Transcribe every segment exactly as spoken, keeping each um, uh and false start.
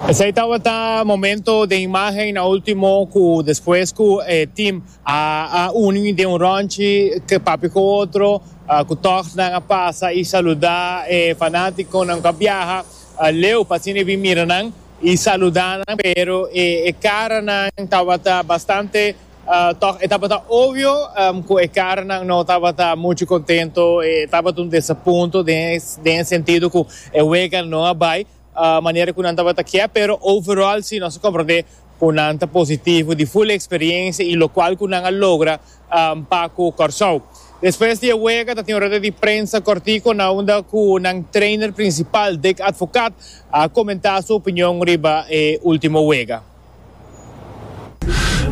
Esey tabata momento di imagen na ultimo cu despues cu eh, team a, a uni den un rondje cu papia cu otro, uh, cu toch nan a pasa y saluda eh, fanaticonan cu a biaha uh, leu pa asina bin mira nan y saluda nan, pero eh, e caranan tabata bastante uh, toch tabata obvio um, cu e caranan no tabata mucho contento, eh, tabata un desapunto den, den sentido cu e wega no a bay uh, manera cu nan tabata kier, pero overall si nos a comprende cu nan ta positivo di full experiencia y locual cu nan a logra um, pa cu Corsou. Despues di wega, tin un rueda di prensa cortico na unda cu nan trainer principal, Dick Advocaat, a comenta su opinion riba e ultimo wega.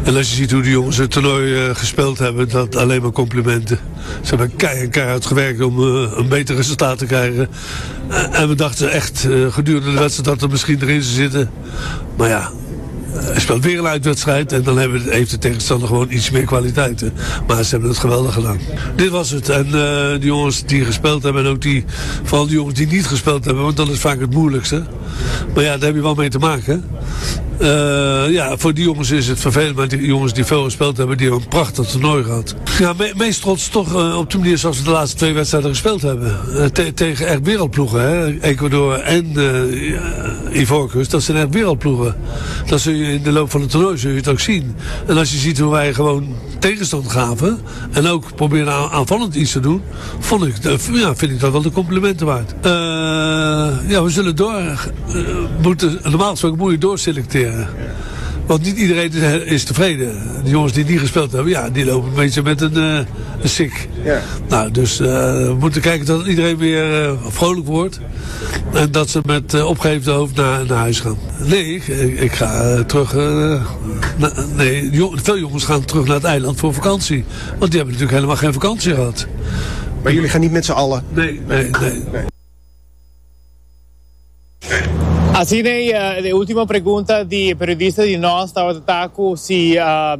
En als je ziet hoe de jongens het toernooi uh, gespeeld hebben, dat alleen maar complimenten. Ze hebben keihard, keihard gewerkt om uh, een beter resultaat te krijgen. Uh, en we dachten echt gedurende de wedstrijd dat er misschien erin zou zitten. Maar ja, hij speelt weer een uitwedstrijd en dan hebben, heeft de tegenstander gewoon iets meer kwaliteiten. Maar ze hebben het geweldig gedaan. Dit was het. En uh, de jongens die gespeeld hebben en ook die, vooral die jongens die niet gespeeld hebben, want dat is vaak het moeilijkste. Maar ja, daar heb je wel mee te maken. Uh, ja, voor die jongens is het vervelend, maar die jongens die veel gespeeld hebben, die hebben een prachtig toernooi gehad. Ja, me meest trots toch uh, op de manier zoals we de laatste twee wedstrijden gespeeld hebben. Uh, te tegen echt wereldploegen, hè? Ecuador en uh, Ivoorkust, dat zijn echt wereldploegen. Dat zul je in de loop van het toernooi zul je het ook zien. En als je ziet hoe wij gewoon tegenstand gaven en ook proberen aanvallend iets te doen, vond ik, ja, vind ik dat wel de complimenten waard. Uh, ja, we zullen door uh, moeten, normaal gesproken moet je doorselecteren. Want niet iedereen is, is tevreden. De jongens die niet gespeeld hebben, ja, die lopen een beetje met een, uh, een sik. Ja. Nou, dus uh, we moeten kijken dat iedereen weer uh, vrolijk wordt. En dat ze met uh, opgeheven hoofd naar, naar huis gaan. Nee, ik, ik ga terug. Na, nee, jong, veel jongens gaan terug naar het eiland voor vakantie. Want die hebben natuurlijk helemaal geen vakantie gehad. Maar jullie gaan niet met z'n allen? Nee, nee, nee. nee. Asina, e ultimo pregunta di periodista di nos tabata si uh,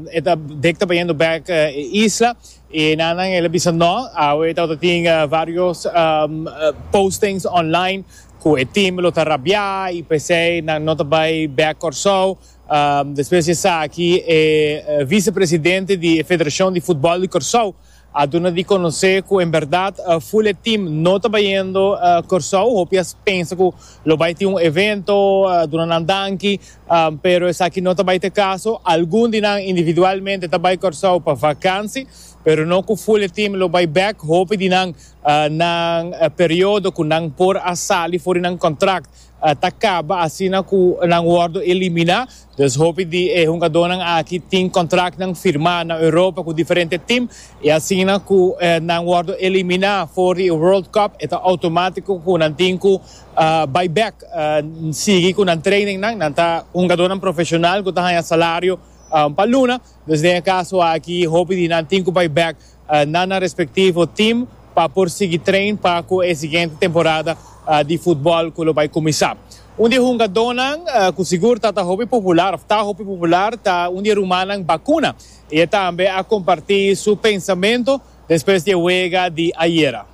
Dick ta bayendo back uh, isla y nan el a bisa no, awe tin varios um, postings online cu e team lo ta rabia y p'esey nan no ta bay back Corsou. Um, despues aki e vicepresidente di Federacion di Futbol di Corsou a duna di conoce cu en berdad uh, full team no ta bayendo uh, Corsou. Hopi a pensa cu lo bay tin un evento uh, duna nan danki, um, pero esaki no ta bay ta e caso. Algun di nan individualmente ta bay Corsou pa vakantie, pero no cu full team lo bay back. Hopi di nan uh, nan uh, periodo cu nan por a sali for di nan contract uh, ta caba asina cu nan wordo elimina. Dus hopi di eh, hungadonan aki tin contract nan firma na Europa cu diferente team y asina cu eh, nan wordo elimina for di World Cup, ta automatico cu nan tin cu uh, bay back uh, sigui cu nan training nan nan ta hungadonan profesional cu ta salario um, pa luna. Dus den caso aki hopi di nan tin cu bay back uh, na nan respectivo team pa por sigui train pa e siguiente temporada uh, di futbol cu bay cuminsa. Un di e hungadonan uh, cu sigur ta hopi popular, ta hopi popular, ta un di e rumannan Bacuna. Y tambe a comparti su pensamento despues di e wega di ayera.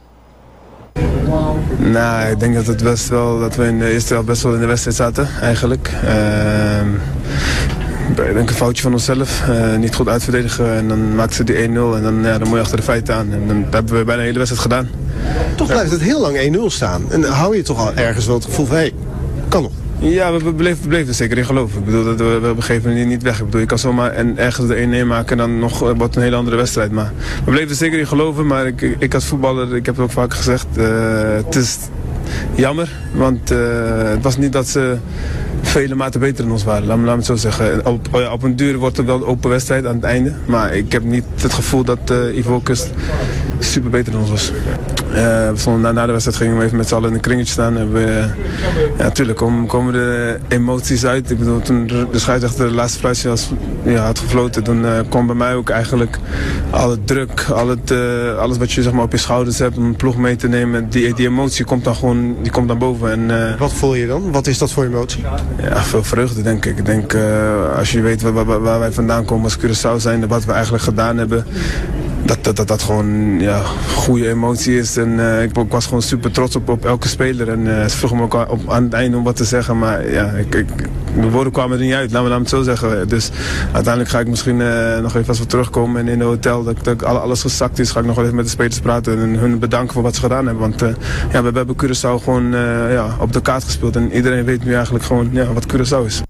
Nou, ik denk dat het best wel dat we in de eerste helft best wel in de wedstrijd zaten, eigenlijk. Uh, ik denk een foutje van onszelf. Uh, niet goed uitverdedigen en dan maakten ze die één-nul en dan, ja, dan moet je achter de feiten aan. En dan hebben we bijna de hele wedstrijd gedaan. Toch blijft het heel lang één-nul staan. En hou je toch al ergens wel het gevoel van, hé, hey, kan nog. Ja, we, we bleven, we bleven er zeker in geloven. Ik bedoel, dat we, we geven het niet weg. Ik bedoel, je kan zomaar en ergens de één-één maken en dan nog wordt een hele andere wedstrijd. Maar we bleven er zeker in geloven. Maar ik, ik als voetballer, ik heb het ook vaak gezegd, uh, het is jammer. Want uh, het was niet dat ze vele maten beter dan ons waren, laat me, laat me het zo zeggen. Op, oh ja, op een duur wordt het wel een open wedstrijd aan het einde. Maar ik heb niet het gevoel dat uh, Ivoorkust super beter dan ons was. Uh, we stonden na, na de wedstrijd gingen we even met z'n allen in een kringetje staan. En we, ja, natuurlijk komen, komen de emoties uit. Ik bedoel, toen de scheidsrechter de laatste fluitje was, ja, had gefloten, toen uh, kwam bij mij ook eigenlijk al het druk, al het, uh, alles wat je, zeg maar, op je schouders hebt om een ploeg mee te nemen. Die, die emotie komt dan gewoon, die komt dan boven. En, uh, wat voel je dan? Wat is dat voor emotie? Ja, veel vreugde, denk ik. Ik denk, uh, als je weet waar, waar, waar wij vandaan komen als Curaçao zijn, wat we eigenlijk gedaan hebben. Dat dat, dat, dat dat gewoon, ja, goede emotie is. En uh, ik, ik was gewoon super trots op, op elke speler. En uh, ze vroegen me ook op, aan het einde om wat te zeggen. Maar ja, ik, ik, de woorden kwamen er niet uit, laat me, laat me het zo zeggen. Dus uiteindelijk ga ik misschien uh, nog even als we terugkomen en in het hotel, dat, dat alles gezakt is, ga ik nog wel even met de spelers praten en hun bedanken voor wat ze gedaan hebben. Want uh, ja, we, we hebben Curaçao gewoon uh, ja, op de kaart gespeeld en iedereen weet nu eigenlijk gewoon, ja, wat Curaçao is.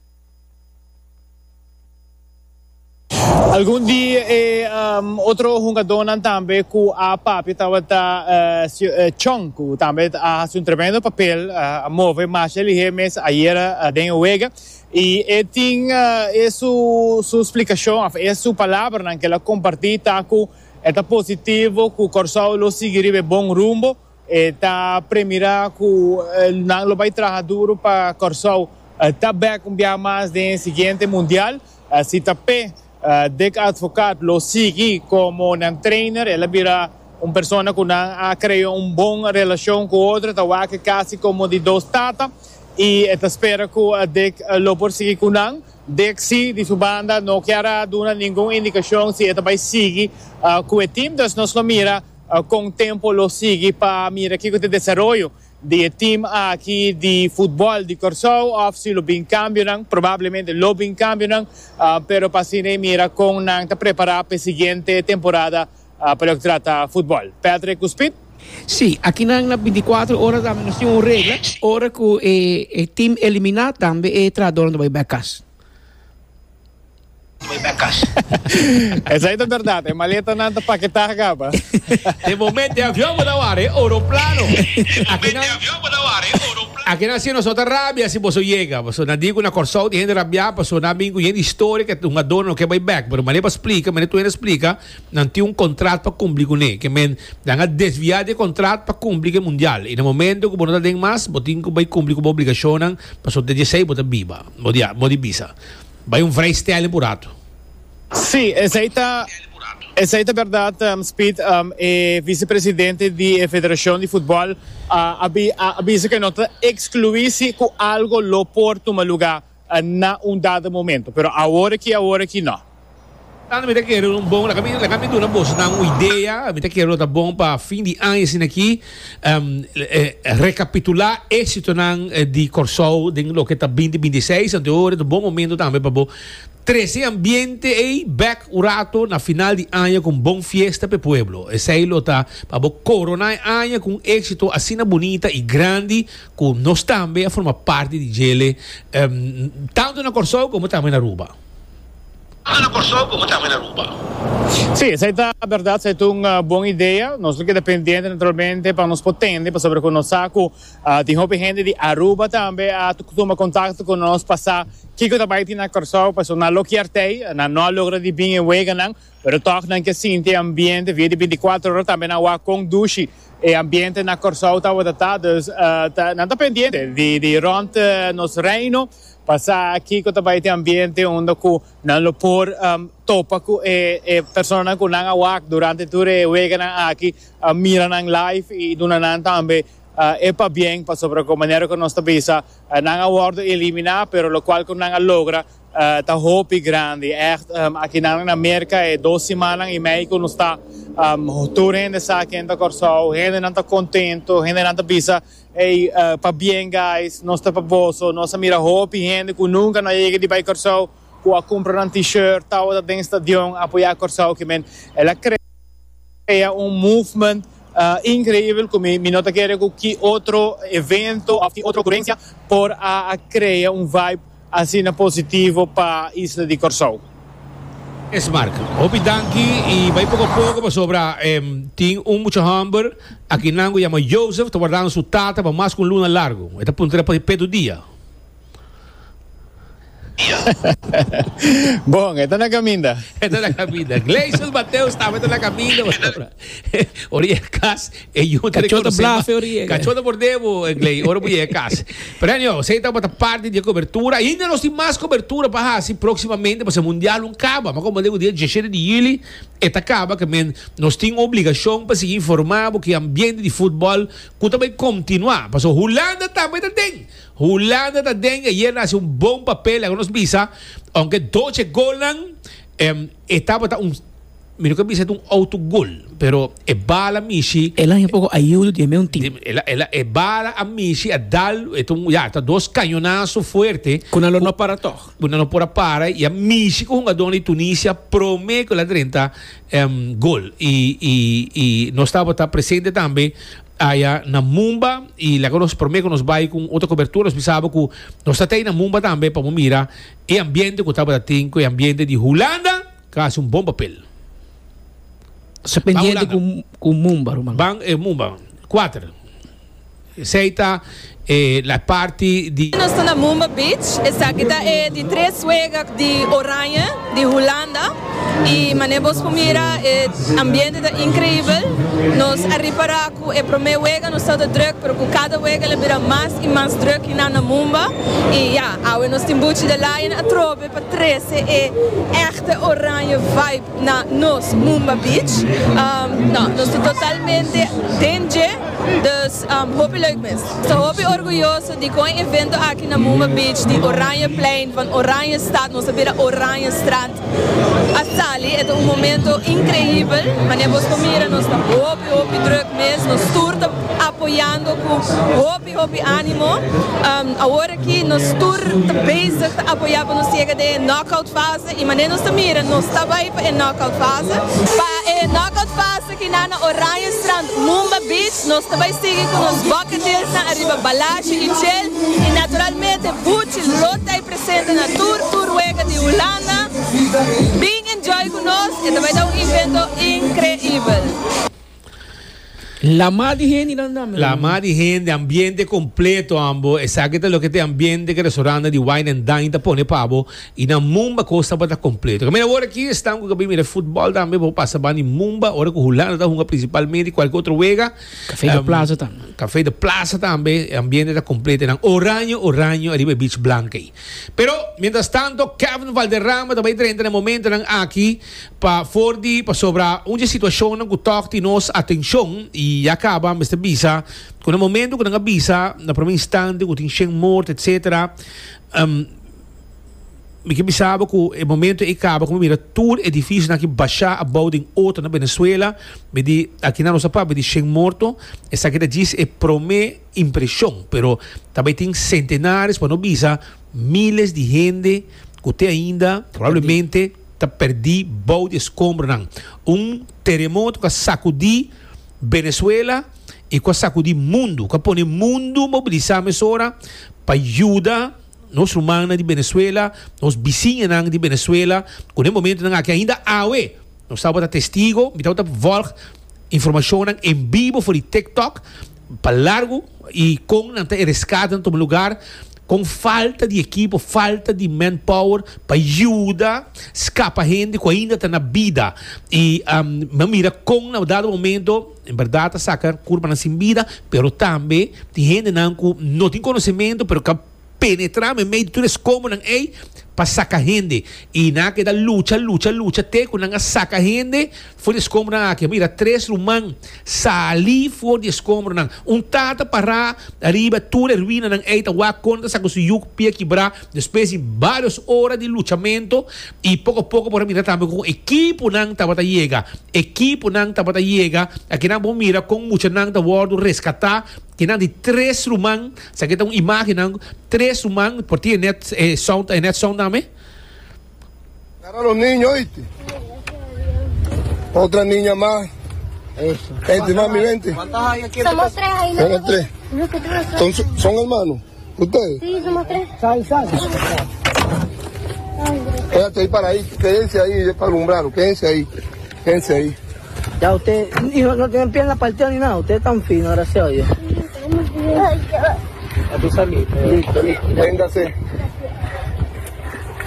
Algun di e um, otro hungadónan tambe ku a papia tabata uh, Chong, ku tambe a hasi un tremendo papel, uh, a move masha lihé mes ayera uh, den wega. I e tin uh, e su, su splikashon, e su palabranan ku el a kompartí ta ku e ta positivo ku Kòrsou lo sigui riba bon rumbo, e ta premirá ku nan lo bai traha duru pa Kòrsou ta bèk un bia mas den siguiente mundial. Si ta p'e Uh, Dick Advocaat lo sigui komo nan trainer, el a bira un persona ku nan a krea un bon relashon ku otro, ta wak kasi komo di dos tata, i e ta spera ku Dick lo por sigui ku nan. Dick si di su banda no kier a duna ningun indikashon si e ta bai sigui uh, ku e team, dus nos lo mira uh, kon tempu lo sigui pa mira kiko ta e desaroyo di e team aki di futbòl di Kòrsou òf si lo bin kambionan, probablemente lo bin kambionan, uh, pero pa asina mira kon nan ta prepará pa e siguiente temporada uh, pa loke trata futbòl. Patrick ku Speed? Sí, aki nan na binticuatro ora tambe nos tin un regla, ora ku e, e team eliminá tambe e trahadónan ta bai bèk kas. Esei ta bèrdat, e maletanan ta paketá kaba. De momento e avion bo ta wara, e oroplano. Akinan, akinan si nos no ta rabia si boso yega. Pasobra nan di ku na Kòrsou tin hende rabiá, pasobra nan bin ku hende historia ku un adorno no ke bai bèk. Pero manera pa splika, manera tur hende splika, nan tin un kontrat pa kumpli kuné. Ke men nan a desviá di e kontrat pa kumpli ku e mundial. I na momento ku bo no ta den mas, bo tin ku bai kumpli ku bo obligashonnan, pasobra te djesei bo ta biba. Bo di, bo di bisa. Bai un vrijstelling por rato. Sí, esei ta, esei ta bèrdat, Speed. E visepresidente di e federashon di futbòl a a bisa ku e no ta ekskluí si ku algo lo por tuma lugá na un dado momento, pero awor aki, awor aki no. Tanto mi ta kere un bon, laga mi, laga mi duna bosonan un idea, mi ta kere lo ta bon pa fin di aña asina aki, rekapitulá éksitonan di Kòrsou den loke ta binti binti i seis, anto ora ta un bon momento tambe pa bo trese e ambiente ei bèk un rato na final di aña ku un bon fiesta pa e pueblo. Esei lo ta pa bo koroná e aña ku un éksito asina bunita i grandi ku nos tambe a forma parti di djele, tantu na Kòrsou komo tambe na Aruba. Tanto na Kòrsou komo tambe na Aruba. Sí, esei ta bèrdat, esei ta un bon idea. Nos lo keda pendiente naturalmente pa nos por tende, pasobra ku nos sa ku tin hopi hende di Aruba tambe a tuma kontakto ku nos pa sa kiko ta bai tin na Kòrsou, pasobra nan lo kier tei, nan no a logra di bin e weganan, pero tòg nan ke sinti e ambiente via di binti kuater ora tambe nan wak kon dushi e ambiente na Kòrsou tabata ta. Dus nan ta pendiente di di rònt nos Reino pa sa kiko ta bai tin ambiente unda ku nan lo por topa ku e e personanan ku nan a wak durante tur e weganan aki, mira nan live i duna nan tambe e pabien, pasobra ku manera ku nos ta bisa nan a wòrdu eliminá, pero lokual ku nan a logra ta hopi grandi. Ègt aki nan na Merka e dos simannan i mei ku nos ta, tur hende sa ken ta Kòrsou, hendenan ta kontentu, hendenan ta bisa, Ey, pabien guys, nos ta pa boso. Nos a mira hopi hende ku nunka no a yega di bai Kòrsou ku a kumpra nan t-shirt, tabata den stadion apoyá Kòrsou. Ke men el a krea un movement inkreibel ku mi no ta kere ku ki otro evento òf ki otro okurensia por a krea un vibe asina positivo pa isla di Kòrsou. Esmark, hopi danki i bai poko poko pasobra tin un mucha hòmber akinan ku yama Joseph ta wardando su tata pa mas ku un luna largu. E ta puntra pa pedu dia. Bon, e ta na kaminda. E ta na kaminda. Gleison Mateus tambe ta na kaminda pasobra ora yega kas e yu ta Kachó ta rekonosé mas. blafe ora yega. Kachó ta mordé bo, Gley, ora bo yega kas. Pero anyhow, esei tabata parti di e kobertura. Ainda nos tin mas kobertura pa hasi próksimamente pasobra e mundial un kaba. Ma komo digo dia diesshete di yüli e ta kaba ke men nos tin obligashon pa sigui informá bo ku e ambiente di futbòl ku ta bai kontinuá. Pasobra Hulanda tambe ta den. Hulanda ta den ayer na hasi un bon papel, laga nos bisa, aunke doce golnan, e tabata un, Mi no ke bisa un autogol, pero e bala mishi. El a un poko ayudo di un team. El a, el a, e bala a mishi a dal, e un, ya, ta dos cañonazo fuerte. Ku nan no para toch. Ku no por a para i a mishi ku hungadó di Tunisia promé ku el a drenta um, gol. I, i, i nos tabata presente tambe aya na Mumba i laga nos promé ku nos bai ku otro kobertura, nos pensaba ku nos ta na Mumba tambe pa mira e ambiente ku tabatin, e ambiente di Hulanda, kasi un bon papel. Se pendiente ku ku Mumba, ruman. Ban eh, Mumba, kuater. Esei ta eh, la parti di Nos ta na Mumba Beach, esaki ta e di tres wega di Oranje, di Hulanda. I manera bo por mira, e ambiente ta inkreibel. Nos a ripará ku e promé wega no tabata drùk, pero ku kada wega el a bira mas i mas drùk na na Mumba. I ja, awe nos tin Buchi de Lion atrobe pa trese e echte Oranje vibe na nos Mumba Beach. Um, no, nos ta totalmente den dje, dus um, hopi leuk mes. Ta hopi orguyoso di ku e evento aki na Mumba Beach, di Oranjeplein, van Oranjestad, nos a bira Oranjestrand. A sali, ta un momento inkreibel, manera bo por mira, nos ta hopi, hopi drùk mes, nos tur ta apoyando ku hopi, hopi ánimo. Um, awor aki nos tur ta bezig ta apoyá pa nos yega den knockout fase i manera nos ta mira, nos ta bai pa e knockout fase. Pa e knockout fase aki na Oranjestrand, Mumba Beach, nos ta bai sigui ku nos bucket list na ariba Balashi i Chill i naturalmente Buchi lo ta presente na tur tur wega di Hulanda. Bin enjoy ku nos i tambe ta un evento inkreibel. Lamá di hende nan dame. Lamá di hende, ambiente kompleto, ambo. Esaki ta loke ta ambiente ku restaurant di Wine and Dine ta pone pa bo i na Mumba kos ta kompleto. Mira, awor aki ta ku mira futbòl tambe, bo pasa ban di Mumba, ora ku Hulanda ta hunga prinsipalmente kualke otro wega. Café de Plaza tambe. Café de Plaza tambe, ambiente ta kompleto. Nan oranje, oranje, ariba Beach Blanca. Pero, mientras tanto, Kevin Valderrama tambe ta drenta na momento nan aki pa for di pa sobra un situashon ku ta toka nos atenshon i ya kaba, Mister Bisa, ku na momento ku nan bisa, na promé instante, ku tin shen morto, et cetera. Um, mi ke bisa ku e momento ei kaba, ku mira tur edifisio aki basha abou den otro na Venezuela, mi di aki na nos pa di shen morto, esaki ta djis e promé impreshon, pero tambe tin sentenares, pa no bisa miles di hende ku te ainda probablemente ta pèrdí bou di eskombrnan. Un teremoto ku a sakudí Venezuela i ku a sakudí mundu, ku a pone mundu mobilisá mesora pa yuda nos rumannan di Venezuela, nos bisiñanan di Venezuela, ku e momento aki ainda awe, nos tabata testigu, mi tabata volg informashon en bibo for di TikTok, pa largu i kon nan ta reskate na un lugá ku falta di ekipo, falta di manpower pa yuda skapa hende ku ainda ta na bida. I um, mira kon na dado momento, en berdat, saka kurpanan sin bida, pero tambe tin hendenan ku no tin konosementu, pero ku penetrá meimei di tur eskombrnan ei pa saka hende i nan a keda lucha, lucha, lucha te ku nan a saka hende for di eskombrnan aki. Mira tres ruman sali for di eskombrnan, un tata pará ariba tur e ruinanan ei ta wak kon ta saka su yu pia kibrá despues di vários ora di luchamentu. I poko poko por mira tambe ku ekiponan tabata yega, ekiponan tabata yega. Aki nan por mira kon muchanan ta wòrdu reskatá ku nan di tres ruman. Esaki ta un imágen, tres ruman por tin net eh, sound eh, net sound tambe. Agarra a los niños, ¿oíste? Otra niña más. Vente, mami, vente. Somos tres ahí, ¿no? Somos tres. Nosotros. ¿Son, son hermanos? ¿Ustedes? Sí, somos tres. Sal, sal. Quédate ahí para ahí, quédense ahí para alumbrarlo, quédense ahí, quédense ahí. Ya usted, hijo, no tienen pierna partida ni nada, ustedes están finos, gracias a Dios. Ay, A tú saliste. Listo, listo. Véngase.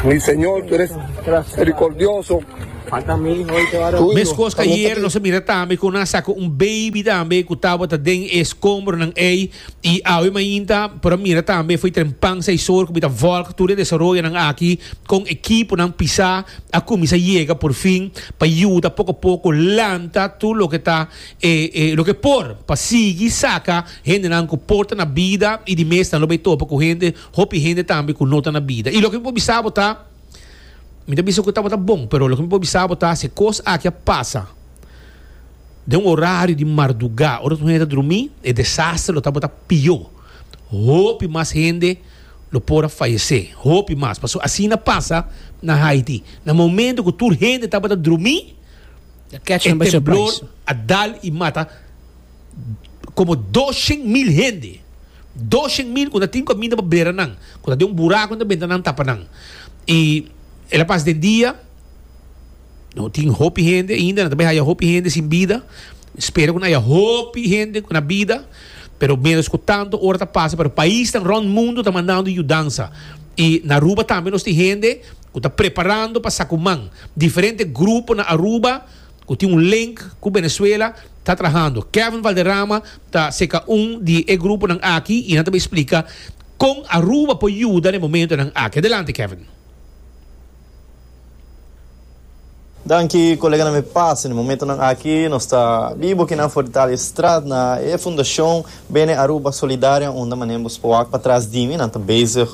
Mi Señor, tú eres Gracias. misericordioso. Falta mi hijo, oíste, varón. Tu hijo, Meskos ku ayera nos a mira tambe ku nan a saka un baby tambe ku tabata den eskombrnan ei i awe mainta por mira tambe foi trempan seis or ku mi ta volg tur e desaroyonan aki kon ekiponan pisá a kuminsá yega por fin pa yuda poko poko lanta tur loke ta eh, eh, loke por pa sigui saka hendenan ku por ta na bida. I di mes nan lo bai topa ku hende, hopi hende tambe ku no ta na bida. I loke por bisa bo ta Mi ta bisa ku tabata bon, pero loke mi por bisa bo ta si kos aki a pasa den un orario di mardugá, ora tur hende ta drumí, e desaster lo tabata pió. Hopi mas hende lo por a fayesé, hopi mas. Pasobra asina pasa na Haiti. Na momento ku tur hende tabata drumí, e temblor a dal i mata komo doshen mil hende. Doshen mil ku ta tin kaminda pa bera nan, ku ta den un buraku nan ta benta nan tapa nan. I el a pasa den dia, no tin hopi hende ainda, nan ta bai haya hopi hende sin bida. Spera ku nan haya hopi hende ku na bida, pero menos ku tanto ora ta pasa, pero paisnan rond mundo ta mandando yudansa. I na Aruba tambe nos tin hende ku ta preparando pa saku man. Diferente grupo na Aruba ku tin un link ku Venezuela ta trahando. Kevin Valderrama ta seka un di e gruponan aki i nan ta bai splika kon Aruba por yuda na e momentonan aki. Adelante Kevin. Danki koleganan mi pasa. Na e momentonan aki nos ta bibo kinan for di Thaliestraat na e fundashon Bene Aruba Solidaria unda manera bo por wak patras di mi nan ta bezig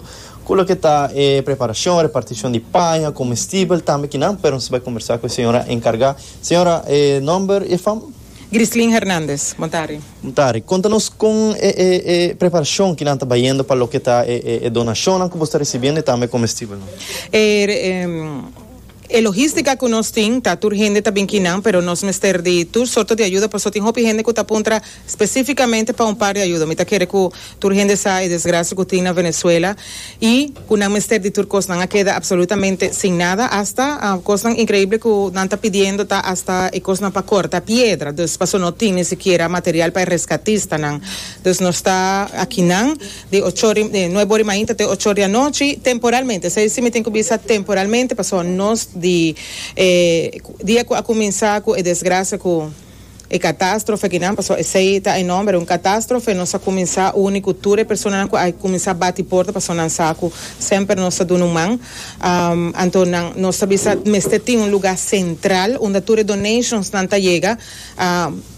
ku loke ta e preparashon, repartishon di paña, komestibel tambe kinan pero nos ta bai kombersa ku e señora enkargá. Señora e nomber i e fam? Grislin Hernandez, Bon tardi. Bon tardi. Konta nos kon e e e preparashon kinan ta bayendo pa loke ta e e e donashonnan ku bo sta risibiendo i tambe komestibelnan. E E logistica cu nos tin ta tur hende ta bin kinan pero nos mester di tur sorto di ayuda pasobra tin hopi hende cu ta puntra specificamente pa un par di ayuda. Mi ta kere cu tur hende sa e desgracia cu tin na Venezuela y cu nan mester di tur cos. Nan a keda absolutamente sin nada hasta cosnan increible cu nan ta pidiendo ta hasta e cosnan pa corta piedra dus pasobra no tin ni sikiera material pa e rescatistanan. Dus nos ta akinan di ocho ori nuebe ori mainta te ocho ori anochi temporalmente. Esey si mi tin cu bisa temporalmente pasobra nos di e dia cu a cuminsa cu e desgracia cu e catastrofe kinan pasobra esey ta e nomber un catastrofe nos a cuminsa uni cu tur e personanan cu a cuminsa bati porta pasobra nan sa cu semper nos ta duna un man anto nan nos ta bisa mester tin un lugar central unda tur e donations nan ta yega.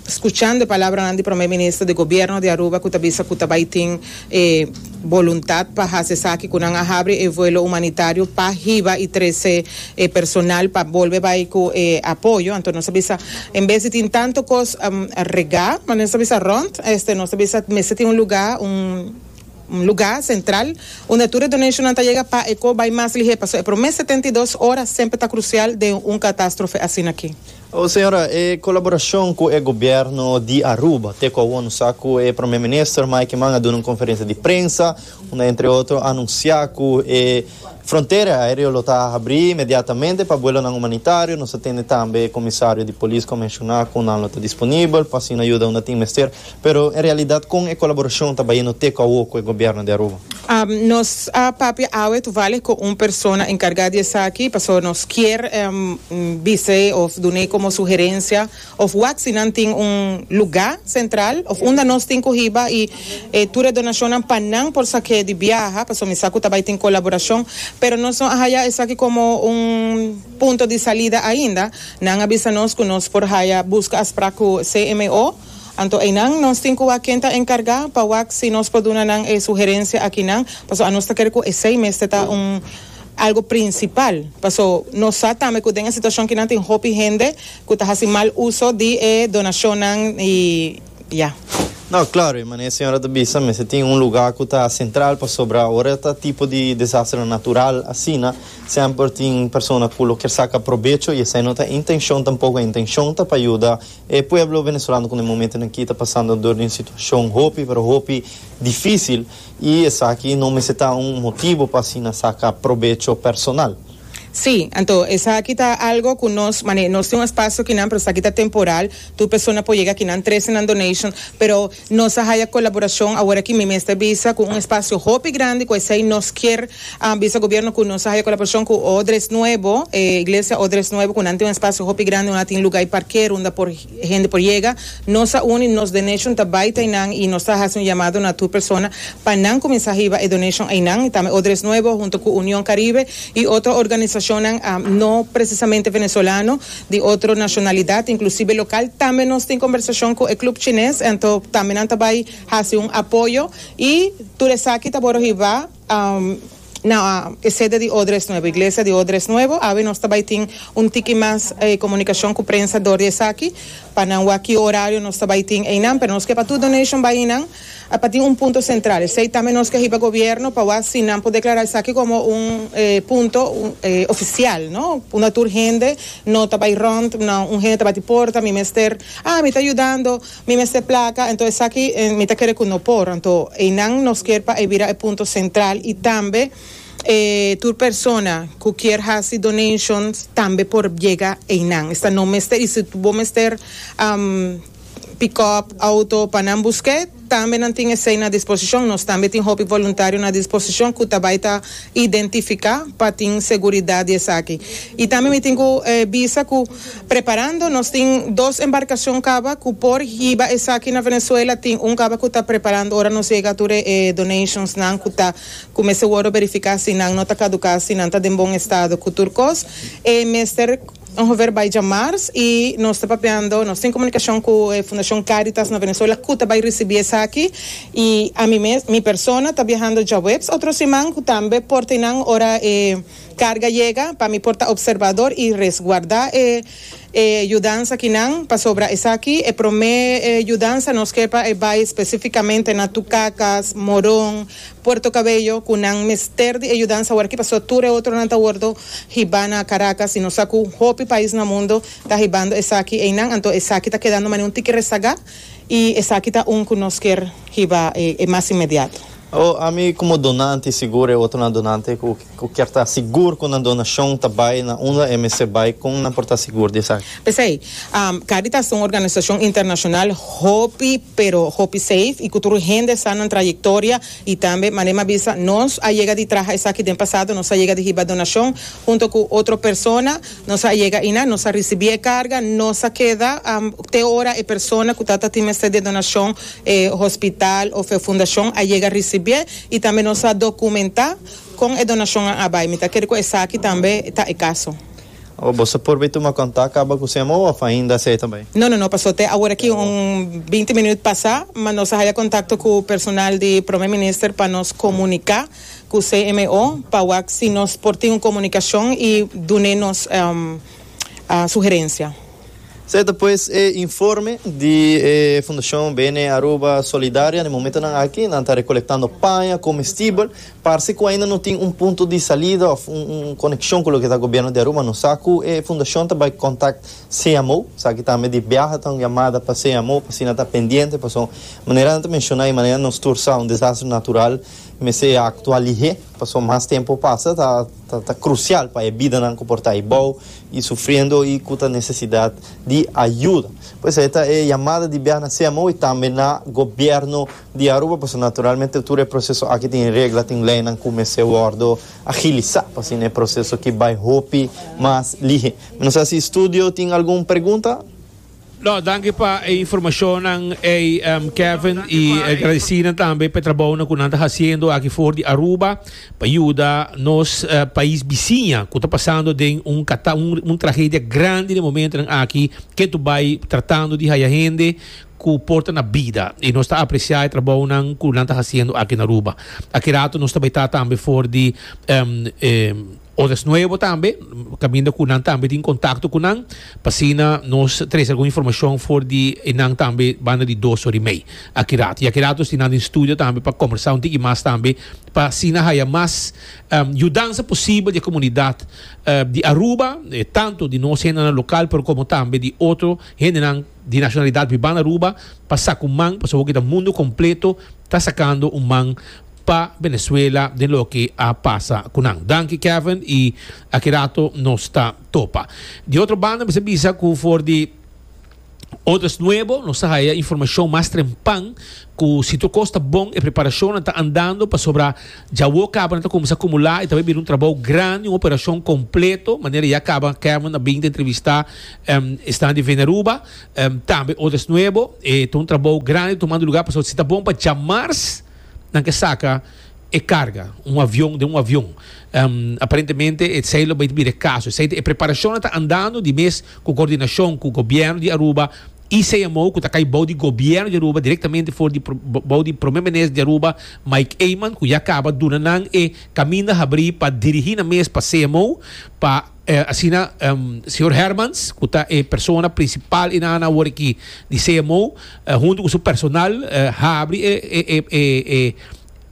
Scuchando e palabranan di Prome Minister di Gobierno di Aruba cu ta bisa cu ta bay tin e boluntad pa haci esaki cu nan a habri e vuelo humanitario pa hiba y trece e personal pa bolbe bay cu e apoyo, anto nos a bisa en bes di tin tanto cos rega, manera nos ta bisa rond, este nos ta bisa mester tin un lugar, un un lugar central unda tur e donationnan ta yega pa e co bay mas lihe pasobra e prome setenta i dos ora semper ta crucial den un catastrofe asina aki. O señora, e colaboracion cu e gobierno di Aruba te cu awor nos sa cu e Prome Minister Mike Eman a duna un conferencia di prensa unda entre otro a anuncia cu e frontera aereo lo ta habri inmediatamente pa buelonan humanitario. Nos a tende tambe e comisario di polis cu a menciona cu nan lo ta disponibel pa asina yuda unda tin mester. Pero en realidad con e colaboracion ta bayendo te cu awo cu e gobierno di Aruba? Nos a papia awe toevallig cu un persona encarga di esaki pasobra nos kier bis'e of dun'e como sugerencia of wak si nan tin un luga central of unda nos tin cu hiba y tur e donacionnan pa nan por sak'e di biaha pasobra mi sa cu ta bay tin colaboracion pero nos no a haya esaki como un punto di salida ainda. Nan a bisa nos cu nos por haya busca afspraak cu C M O. Anto einan nos tin cu wak ken ta encarga pa wak si nos por duna nan e sugerencia akinan, pasobra anos ta kere cu esey mester ta un algo principal, paso nos sa tambe cu den e situacion kinan tin hopi hende cu ta haci mal uso di e donacionnan y ya. No, claro, e manera señora ta bisa mester tin un lugar cu ta central pasobra ora ta tipo di desastre natural asina semper tin persona cu lo kier saca probecho y esey no ta intencion tampoco, e intencion ta pa yuda e pueblo venezolano cu na e momentonan aki ta pasando door di un situacion hopi pero hopi dificil y esaki no mester ta un motibo pa asina saca probecho personal. Sí, anto esaki ta algo cu nos, mane, nos tin un espacio kinan, pero esaki ta temporal, tur persona por yega kinan, trece nan donation, pero nos a haya colaboracion awor aki mi mester bisa cu un espacio hopi grandi cu esey nos kier bisa gobierno cu nos a haya colaboracion cu Odres Nuevo, e iglesia Odres Nuevo, cu nan tin un espacio hopi grandi unda tin lugar y parker unda por hende por yega, nos a uni, nos donation ta bay ta eynan y nos ta haci un llamado na tur persona pa nan cuminsa hiba e donation eynan, y tambe Odres Nuevo hunto cu Union Caribe y otro organisacion Shonnan no precisamente venezolano, di otro nacionalidad, inclusive local. Tambe nos tin conversacion cu e club chines, anto tambe nan ta bay haci un apoyo y tur esaki ta boro hiba Na e sede di Odres Nuevo, iglesia di Odres Nuevo. Awe nos tambe tin un tiki mas eh, komunikashon ku prensa dor di esaki, pa nan ki orario nos tambe tin einan, pero nos ke pa tur donation bai einan, pa tin un punto sentral. Esei tambe nos ke hiba gobièrnu pa asina nan por deklará esaki komo un eh, punto un, eh, ofisial, no? Unda tur hende no ta bai rònt, no, un hende ta bati porta, mi mester, ah, mi ta yudando, mi mester plaka, anto esaki eh, mi ta kere ku no por, anto einan nos ke pa bira e punto sentral i tambe eh, tur persona ku ke hasi donations tambe por yega einan. Esta no mester, i si bo mester um, pick up outo pa nan busk'é, tambe nan tin esei na disposishon. Nos tambe tin hopi voluntario na disposishon ku tambe ta identifiká pa tin seguridat esaki. I tambe mi tin ku eh, bisa ku preparando, nos tin dos embarkashon kaba ku por hiba esaki na Venezuela, tin un kaba ku ta preparando, ora nos yega tur eh, donations nan ku ta kuminsá verifiká si nan no ta kaduká, si nan ta den bon estado ku tur kos. Eh, mester ongeveer bij djamars i nos ta papiando, nos tin komunikashon ku eh, Fundashon Caritas na Venezuela, ku ta bai risibí esaki i ami mes, mi persona ta biahando djaweps otro siman, ku tambe por ta einan ora eh, karga yega, pa mi por ta observador i resguardá eh, eh, yudansa akinan pasobra esaki e promé eh, yudansa nos ke pa eh, bai spesífikamente na Tucacas, Morón, Puerto Cabello, ku nan mester di yudansa awor aki, paso tur otro nan ta wòrdu hibá na Caracas i nos sa ku hopi pais na mundu ta hibando esaki einan, anto esaki ta kedando mane un tiki resagá i esaki ta un ku nos ke hiba eh, eh, mas inmediato. O, ami komo donante sigur e otro na donante ku ku ke ta sigur ku e donashon ta bai na unda e mester bai, kon nan por ta sigur di esaki? P'esei, um, Caritas ta un organisashon internashonal hopi, pero hopi safe i ku tur hende sa nan trayektoria i tambe manera m'a bisa, nos a yega di traha esaki den pasado, nos a yega di hiba donashon huntu ku otro persona, nos a yega einan, nos a risibí karga, nos a keda um, te ora e persona ku tabata tin mester di donashon, eh, hospital òf fundashon a yega risibí i tambe nos a dokumentá kon e donashon a bai. Mi ta kere ku esaki tambe ta e kaso. O bo por bin tuma kontakto kaba ku C M O òf ainda esei tambe? No, no, no, paso te awor aki un binti minüt pasá, mas nos a haña kontakto ku personal di Promé Minister pa nos komuniká ku C M O, pa si nos por tin un komunikashon i duna nos um, a sugerensia. Serto, pues eh, informe di eh, Fundashon B N Aruba Solidaria, na momento nan aki, nan ta rekolektando paña, komestibel, parse ku ainda no tin un punto di salida òf un, un konekshon ku loke ta gobièrnu di Aruba, no sa ku eh, fundashon ta bai kontaktá C M O, sabe ku tambe di biaha ta un yamada pa C M O, pa asina ta pendiente, pa so manera nan menshoná i manera nos tur sa, un desaster natural, mester aktua lihé, paso mas tempu pasa, ta, ta, ta krusial pa e bidanan ku por ta abou i sufriendo i ku nesesidat di ayudo. Pues esta e yamada di biaha na C M O i tambe na gobièrnu di Aruba, pues naturalmente tur e proseso aki tin regla, tin lei ku mester wòrdu agilisá, pa asina e proseso aki bai hopi mas lihé. No sa si studio tin algun pregunta? No, danki pa e informashon, eh, um, Kevin, i gradisí tambe pa e trabou ku nan ta hasiendo aki for di Aruba pa yuda nos uh, pais bisiña ku ta pasando den un, un, un tragedia grandi na e momento aki ku ta bai tratando di haya hende ku por ta na bida i nos ta apresiá e trabou ku nan ta hasiendo aki na Aruba. Aki ratu nos tambe ta tambe for di um, um, Odres Nuevo tambe, kaminda ku nan tambe tin kontakto ku nan, pa asina nos trese algun informashon for di nan tambe banda di dos or i mei. Aki ratu. I aki ratu tin den studio tambe pa kombersá un tiki mas tambe, pa asina haya mas um, yudansa posibel di komunidat uh, di Aruba, eh, tantu di nos hende lokal, pero komo tambe di otro hende di nashonalidat biba na Aruba, pa saka un man, pa ku mundu kompleto ta sakando un man pa Venezuela di loke a pasa ku nan. Danki, Kevin, i aki ratu nos ta topa. Di otro banda, bo bisa ku for di Odres Nuevo, nos a haya informashon mas trempan ku si tur kos ta bon e preparashon ta andando pasobra ya kaba ta kuminsá akumulá i tambe bira un trabou grandi, un operashon kompleto, manera ya kaba Kevin a bin entrevistá um, esnan di Veneruba, um, tambe Odres Nuevo, e un trabou grandi tumando lugá pa si ta bon pa djamars nan ke saka e karga, un avion di un avion. Um, aparentemente, esei lo bai bira kaso. E preparashon ta andando di mes ku koordinashon ku gobièrnu di Aruba. I C M O, ku ta kai bou di gobièrnu di Aruba, direktamente for di bou di promé minister di Aruba, Mike Eman, ku ya kaba a duna nan e kaminda habrí pa dirigí nan mes pa C M O, pa eh, asina um, señor Hermans, ku ta e persona prinsipal einan awor aki di C M O, eh, huntu ku su personal, eh, habri e, e, e, e, e,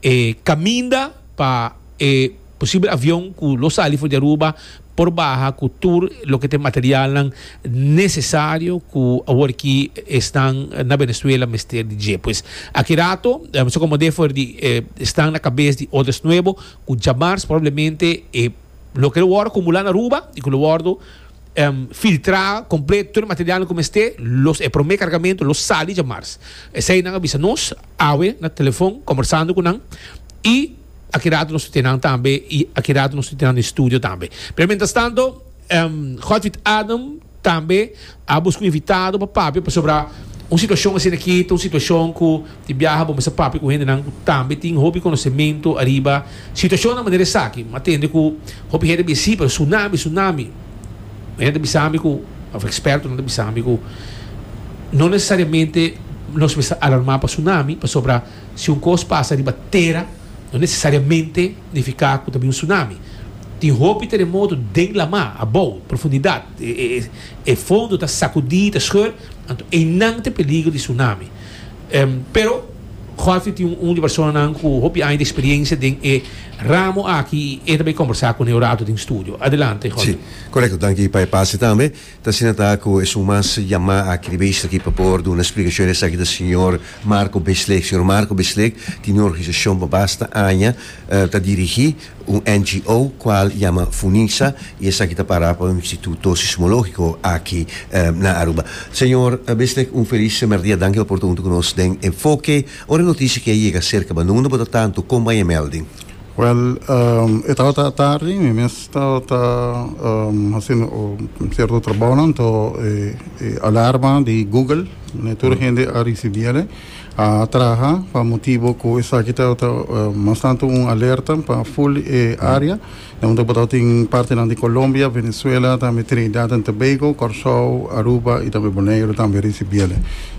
e kaminda pa e posibel avion ku lo sali for di Aruba por baha ku tur loke ta material nesesario ku awor aki esnan na Venezuela mester di dje. Pues aki rato, eh, so komo de for di eh, esnan na kabes di Odres Nuevo, ku djamars probablemente eh, loke lo akumulá na Aruba i ku lo um, filtrá kompleto tur material ku mester, los e promé kargamentu lo sali djamars. Esei nan a bisa nos awe na telefòn kombersando ku nan i aki rato nos tin tambe i aki rato nos tin na studio tambe. Pero mientras tanto, um, Godfried Adam tambe a buska un invitado pa papia sobre un situashon asina aki, un situashon ku di biaha, bo mester papia ku hendenan tambe tin hopi konosementu ariba situashon na manera esaki, m'a tende ku hopi hende bisa, pero tsunami, tsunami. Hende bisa mi ku, òf ekspertonan bisa mi ku no nesesariamente nos mester alarmá pa tsunami, pasobra si un kos pasa riba tera, no nesesariamente nifiká ku tambe un tsunami. Tin hopi teremoto den laman, abou, profundidat, e, e, e fondo ta sakudí, ta skùr, anto einan tin peliger di tsunami. Um, pero Godfrey tin un, un di persona ku hopi aña di eksperensia den e ramo aki i tambe kombersá ku e rato den studio. Adelante, Godfrey. Si, korekto, danki pa e pase tambe. Ta asina ta ku e mas yamá aki bes aki pa por duna eksplikashon aki di señor Marco Beslik. Señor Marco Beslik tin un organisashon pa basta aña, uh, ta dirigí un N G O kual yama FUNISA i esaki ta para pa un instituto sismológiko aki uh, na Aruba. Señor Beslik, un felis dia, danki pa ta ku nos den Enfoke. Ora notisia ku a yega serka, ma no ta tantu kon a melding. Well, um, e tabata tardi, mi mes tabata um, hasiendo un sierto trabou, anto eh, eh, alarma di Google, ne, tur hende a risibí, a traha pa motibu ku esaki tabata uh, mas tantu un alerta pa full eh, área, unda tin parti di Colombia, Venezuela, tambe Trinidad y Tobago, Kòrsou, Aruba i tambe Boneiru tambe a risibí.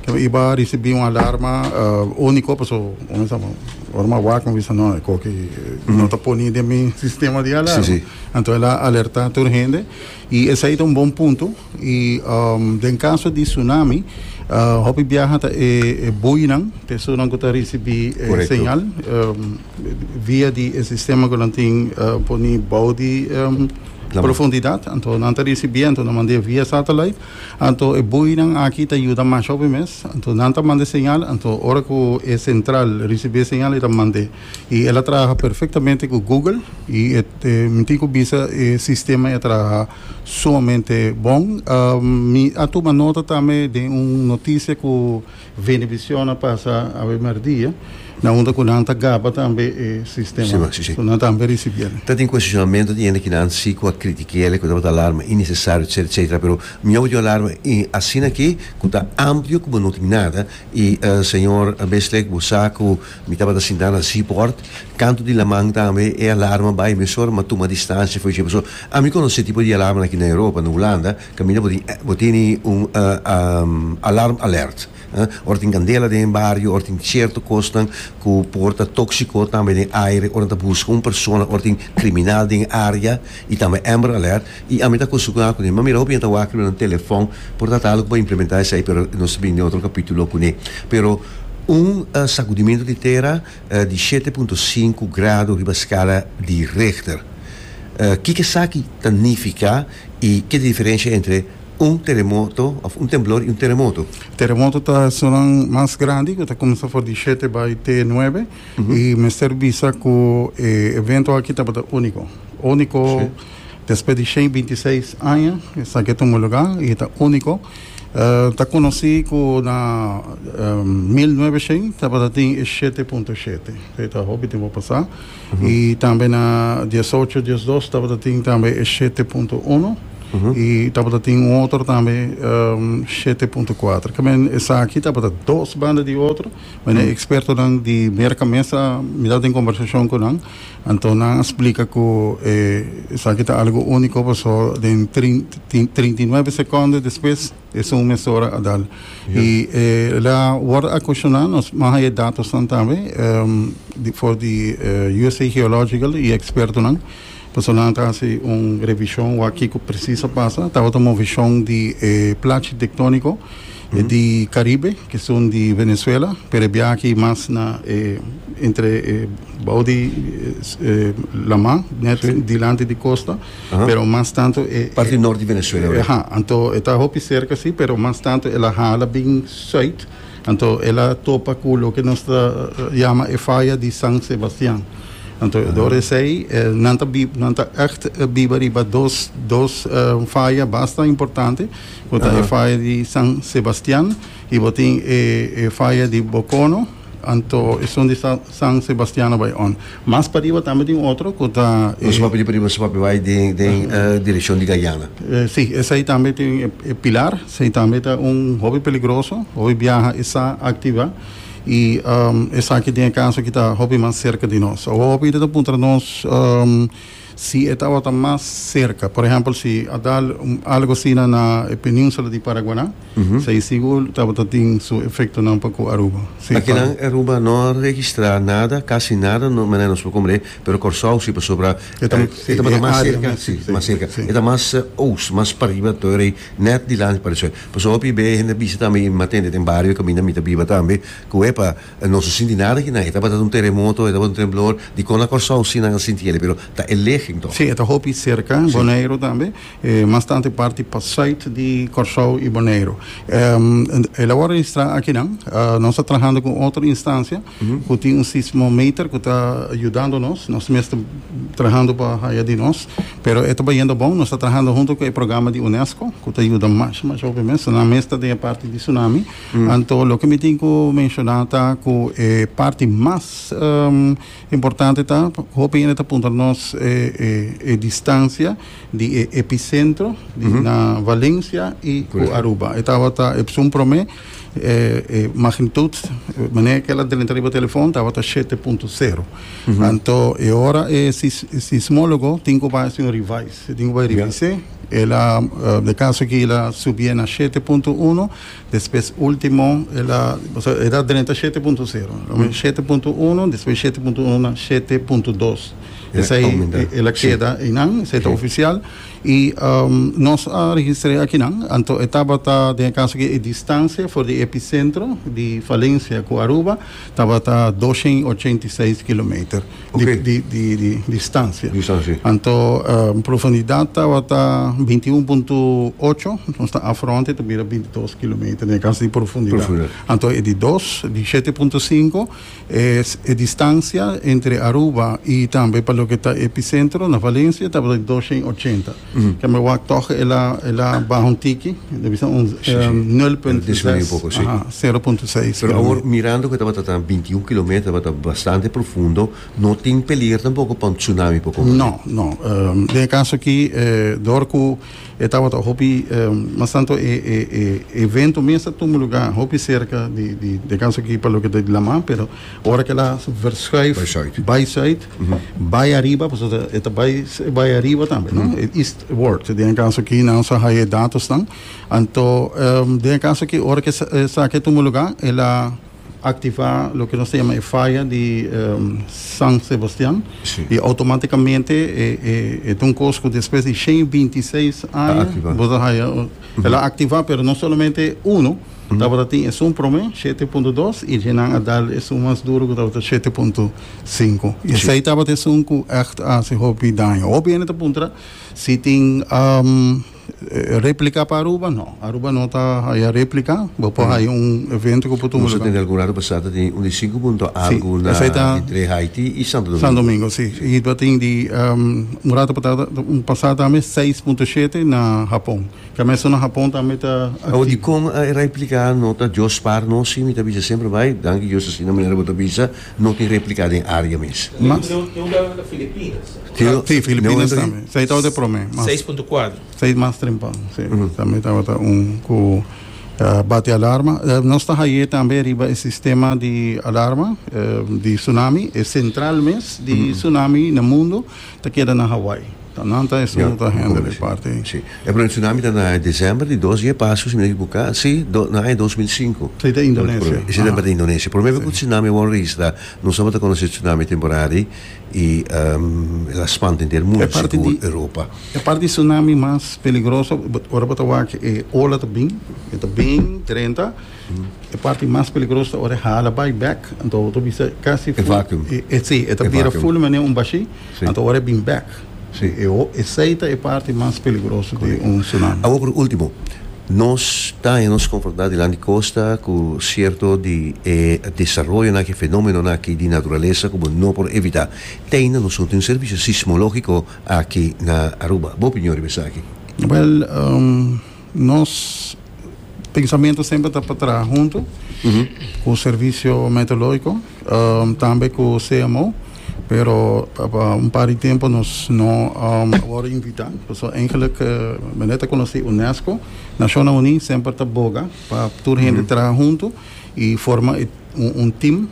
I a risibí un alarma uh, úniko, paso, kon yama, ora m'a wak, bisa no, ku no ta poniendo den mi sistema di alarma. Si, si. Anto el a alertá tur hende i esei ta un bon punto i um, den kaso di tsunami, uh, hopi biaha ta e, e buinan, personanan ku ta risibí eh, Korekto. señal um, via di e sistema ku nan tin uh, poni bou di um, profundidat, anto nan ta risibí, anto nan manda via satellite, anto e buinan aki ta yuda mas hopi mes, anto nan ta manda señal, anto ora ku e sentral risibí señal, e ta manda i el a traha perfektamente ku Google i e, e, mi tin ku bisa, e sistema a traha sumamente bon. um, mi a tuma nota tambe di un notisia ku Venevisión a pasa awe merdia, na unda ku nan ta gaba tambe e sistema. Si, si, si. So, nan tambe a risibí. Ta tin kuestionamentu di hende ku nan si ku a kritik'é, ku tabata alarma innesesario, et cetera, et cetera. Pero mi a alarma i asina aki, ku ta amplio komo no tin nada. I uh, señor Beslik, bo sa ku mi tabata sintá na Seaport, kantu di laman tambe, e alarma a bai, mesora m'a tuma distansia, foi tipo, so, ami konosé tipo di alarma aki na Europa, na Hulanda, kaminda bo tin un uh, um, alarm alert. Uh, ora tin kandela den bario, ora tin sierto kos ku por ta tóksiko tambe den aire, ora ta buska un persona, ora tin kriminal den área i tambe Amber Alert. I ami ta kustumbrá kuné, ma mira hopi ta wak na telefòn, por tantu algu pa implementá esei, pero nos ta bin den otro kapítulo kuné. Pero un uh, sakudimentu di tera uh, di shete punto sinku grado riba skala di Richter. Uh, kiko esaki ta nifiká i ki diferensia entre un teremoto, òf un temblor i un teremoto? Teremoto ta esun mas grandi, ku ta kuminsá for di shete bai te nuebe, i mester bisa ku e evento aki tabata úniko. Úniko despues di shen bintiseis aña, esaki a tuma lugá i ta úniko. Uh, ta konosí ku na um, mil novesentos tabata tin shete punto shete. Ta hopi tempu pasá. I tambe na diesocho diesdos tabata tin tambe shete punto un. I tabatin un otro tambe um, shete punto kuater. Ke men esaki tabata dos banda di otro, ma mm. ekspertonan di Merka mes a mi tabatin kombersashon ku nan, anto nan a splika ku eh, esaki ta algu úniko, paso den trinta i nuebe sekonde despues esun mesora a dal. I eh, el a wòrdu kuestioná, nos m'a haña datonan tambe um, di, for di uh, U S A Geological i ekspertonan. Paso nan ta hasi un revishon wak kiko presis a pasa. Tabata un moveshon di eh, plachi tektóniko mm -hmm. di Karibe, ku ta di Venezuela, pero aki mas na eh, entre eh, bou di eh, laman, net sí. dilanti di kosta, uh -huh. pero mas tantu eh, Parti nort di Venezuela. Eh, aha, anto e ta hopi serka si, pero mas tantu el a hala bin zuid. Anto el a topa ku loke nos ta yama e faya di San Sebastian. Anto, uh -huh. Door esei, eh, nan ta nan ta echt biba riba dos dos uh, faya basta importante. Ku ta uh -huh. faya di San Sebastian i bo tin e, e faya di Bocono. Anto, esun di San Sebastian bai on. Mas pariba tambe tin otro ku ta. Nos papia pariba, nos papia bai den den uh, direkshon di Guyana. Eh, si, esei tambe tin e Pilar, esei tambe ta un hopi peligroso, hopi biaha e sa aktivá. I um, esaki tin kaso ku ta hopi mas serka di nos. Hopi ta puntra nos um, si tabata mas serka. Por ehèmpel, si a dal um, algu asina na península di Paraguaná, uh -huh. si sigur tabata tin su efektonan pa ku Aruba. Si, aki na Aruba no a registrá nada, kasi nada, no, ma no por komprondé, pero Kòrsou si pasobra ta e mas serka, si, mas serka. E ta mas oost, mas pariba, tur net dilanti pa esei. Pasobra hopi be hende bisa tambe, m'a tende den bario kaminda mi ta biba tambe, ku epa, no se sinti nada aki na, tabata un teremoto, tabata un temblor, di kon na Kòrsou si nan a sinti, pero ta e ligging toch. Si, ta hopi serka, Boneiru tambe, eh, mas tantu parti pa zuid di Kòrsou i Boneiru. Um, el a registrá akinan, uh, nos ta trahando ku otro instansia, uh -huh. ku tin un sismometer ku ta yudando nos, nos mes ta trahando pa haya di nos, pero ta bayendo bon, nos ta trahando huntu ku e programa di UNESCO, ku ta yuda mas, mas obviamente, na mes ta den parti di tsunami. Mm. Anto, loke mi tin ku menshoná ta ku e parti mas um, importante ta, hopi ta puntra nos eh, eh, e distansia di eh, episentro di, mm -hmm. na Valencia i Aruba. E tabata esun promé eh, eh, magnitude, manera ku el a drenta riba telefòn, tabata shete punto sero. Mm -hmm. Anto, e ora e sis, sismólogo tin ku hasi un revise, tin ku revisá. Yeah. El a, uh, den kaso ku el a subi na shete punto un, despues último, el a, el a drenta shete punto sero, mm. shete punto un, despues shete punto un na shete punto dos. Esei el a keda einan, esei ta ofisial. I um, nos a registrá akinan, anto tabata den kaso ku e distansia for di episentro di Valencia ku Aruba tabata dosshen ochenta i seis kilometer okay. di, di, di, di distansia. Distansia. Anto um, profundidat tabata bintiun punto ocho, nos ta afronte tambe bintidos kilometer den kaso di profundidat. Profundidat. Anto e di dos, di shete punto sinku, e, e distansia entre Aruba i tambe pa loke ta episentro na Valencia tabata dosshen ochenta. Mm -hmm. Ke men wak toch el a el a baha un tiki, debe ser un um, nul punto zes. Disminuí un poko, si. sero punto seis. Pero awor, mirando ku tabata bintiun kilometer, tabata bastante profundo, no tin peliger tampoko pa un tsunami poko? No, no. Um, den kaso aki, eh, door ku tabata hopi, um, mas tantu e, e, e evento mes a tuma lugá hopi serka di di den kaso aki pa loke ta laman, pero ora ku el a verschuif bai zuid, bai ariba, pues e ta bai bai ariba tambe, no? Eastward. Den kaso aki nan sa haya datonan. Anto, um, den kaso aki ora ku esaki a tuma lugá, el a aktivá loke nos ta yama e faya di um, San Sebastian si. I outomátikamente e, e, e un kos ku despues di shen bintiseis aña aktivá. Bo haya, el a aktivá, pero no solamente uno, tabata tin esun promé shete punto dos i nan a dal esun mas duru ku tabata shete punto sinku i esei tabata esun ku echt a hasi hopi daño. Hopi hende ta puntra si tin um, Replica pa Aruba, no. Aruba no ta haya replica. Bo por haya un evento cu por tuma Nos lugar. tin algun rato pasa tin un di cinco punto algo Si, na esey ta- entre Haiti y Santo Domingo. Santo Domingo, si. Y tin di um, un rato pasa, un pasa tambe seis punto shete na Japon. Cu mes na Japon tambe ta O di con e replica no ta? Dios spaar nos, si, mi ta bisa semper bay. Danki Dios, asina manera bo ta bisa, no tin replica den area mes. Mas- Tin un na Filipinas. Si, Filipinas tambe. Esey ta di prome. seis punto cuater. Seis mas trempan, si. Tambe tabata un cu uh, bate alarma. Uh, nos ta ey tambe riba e sistema di alarma uh, di tsunami, e central mes di tsunami na mundo, ta keda na Hawaii. Anto, nan ta e Ja, ta handle e parti. Si. E pero tsunami ta na december di dos aña pasa, si mi no ekivoca, si, do, na dos mil cinco. Si, di Indonesia. Si, ah, di Indonesia. Prome cu tsunami a registra, nos tabata conoce tsunami temporario y um, el a spanta henter mundo, E parti sigur di- Europa. E parti di tsunami mas peligroso, ora bo ta wak e ola ta bin, e ta bin trinta. E parti mas peligroso ora hala bay back, anto ta bisa casi E vacuum. E, e, si, e ta E bira vacuum. full manera un bashi, Si. anto ora bin back. Si. E, o- esey ta e parti mas peligroso di un tsunami. Awor, por ultimo, nos ta nos confronta dilanti costa cu cierto di eh, desaroyo na cu fenomeno aki di naturalesa cu no por evita. Tin nos un servicio sismologico aki na Aruba. Bo opinion esaki? Well, um, nos pensamento semper ta pa traha hunto cu e servicio meteorologico, um, tambe cu C M O, pero pa un par di tempo nos no um, a wordo invita. Dus eigenlijk, uh, mi net a conoce UNESCO, Naciones Unidas semper ta boga pa tur hende traha hunto y forma un, un team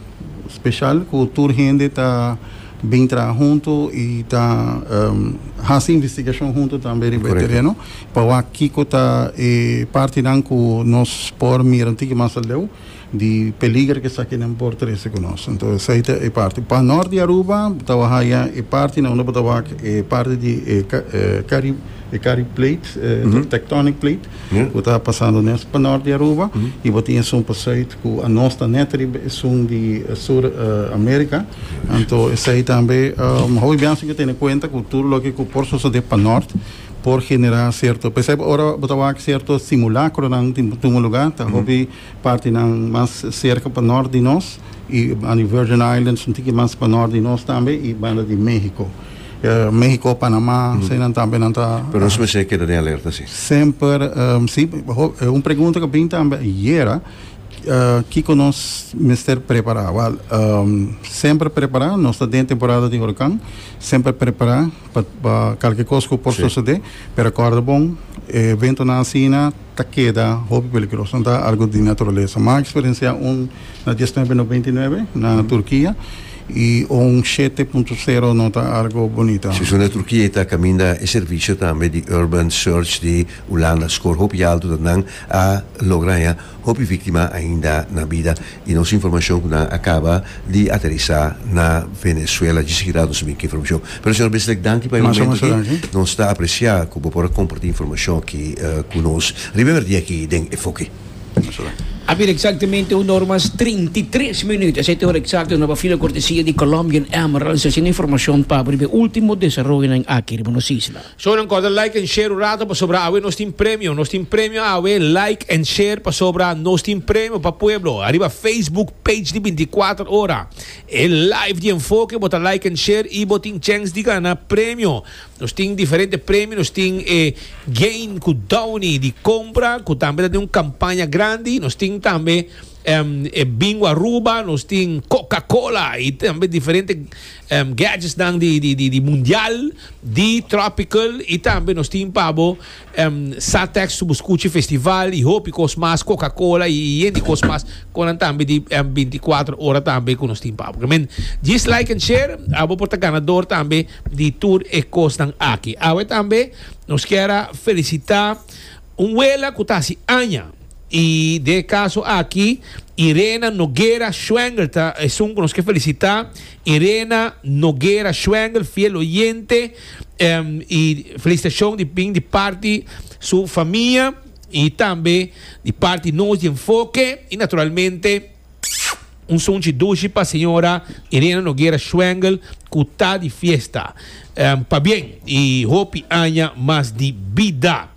special cu tur hende ta bin traha hunto y ta um, haci investigacion hunto tambe riba Correcto. tereno pa wak kico ta e parti nan cu nos por mira un tiki mas aleu di peliger cu esaki nan por trece cu nos. Anto, esey ta e parti. Pa nort di Aruba, ta haya e parti na unda ta wak e parti di e, e, Cari e Cari Plate, eh, Mhm. tectonic plate, Ja. cu ta pasando net pa nort di Aruba, y bo tin un pa zuid, cu nos ta net riba esun di eh, Sur eh, America. Anto, esey tambe, um, hopi biaha cu tene cuenta cu tur loke cu por sucede pa nort, por genera cierto, pues ora bo ta wak cierto simulacro nan tin un lugar, ta hopi parti nan mas cerca pa nort di nos y na Virgin Islands un tiki mas pa nort di nos tambe y banda di Mexico. Uh, Mexico, Panama, mm. nan tambe nan ta. Pero nos mester keda den alerta, si. Semper, um, si, un pregunta cu a bin tambe ayera, uh, kico nos mester prepara? Well, um, semper prepara, nos ta den temporada di horcan, semper prepara pa cualkier cos cu por Si. sucede, pero corda bon, evento nan asina ta keda hopi peligroso, no ta algo di naturalesa. Mi a experiencia un na mil novecientos noventa y nuebe na Turkia y un shete punto cero no ta algo bunita. Si na Turkia ta caminda e servicio tambe di Urban Search di Hulanda score hopi alto dat nan a logra ya hopi victima ainda na bida y nos informacion cu nan a caba di aterisa na Venezuela di seguida nos bin informacion. Pero señor Bisslik, danki pa e Mas momento mas aki. Danki. Nos ta aprecia cu por comparti informacion aki uh, cu nos. Riba dia aki den Enfoke. A ver, exactamente un ora mas trinta i tres minuut. Esey ta ora exacto na fila cortesia di Colombian Emerald. Asina informacion pa e ultimo desaroyo aki riba nos isla. So nan corda like and share un rato pasobra awe nos tin premio, nos tin premio awe. Like and share pasobra nos tin premio pa pueblo. Ariba Facebook page di binticuater Ora. E live di Enfoke, bo ta like and share y bo tin chance di gana premio. Nos tin diferente premio, nos tin eh, Gain cu Downy di compra, cu tambe tin un campaña grandi, nos tin tambe um, eh, Bingo Aruba, nos tin Coca-Cola y tambe diferente um, gadgets dan di, di, di, di Mundial, di Tropical y tambe nos tin pa bo um, Satex Subuscuchi Festival y hopi cos mas, Coca-Cola y y cos mas, cu tambe di um, binticuater Ora tambe cu nos tin pa bo. Men, just like and share, abo por ta ganador tambe di tur e cosnan aki. Awe tambe nos kier felicita un wela cu ta haci aña. Y den caso aki, Irena Noguera Schwengel, ta, esun cu nos kier felicita. Irena Noguera Schwengel, fiel oyente, um, y felicitacion di bin di parti su famia y tambe di parti nos di Enfoke y naturalmente un sunchi dushi pa señora Irena Noguera Schwengel, cu ta di fiesta. Um, pabien y hopi aña mas di bida.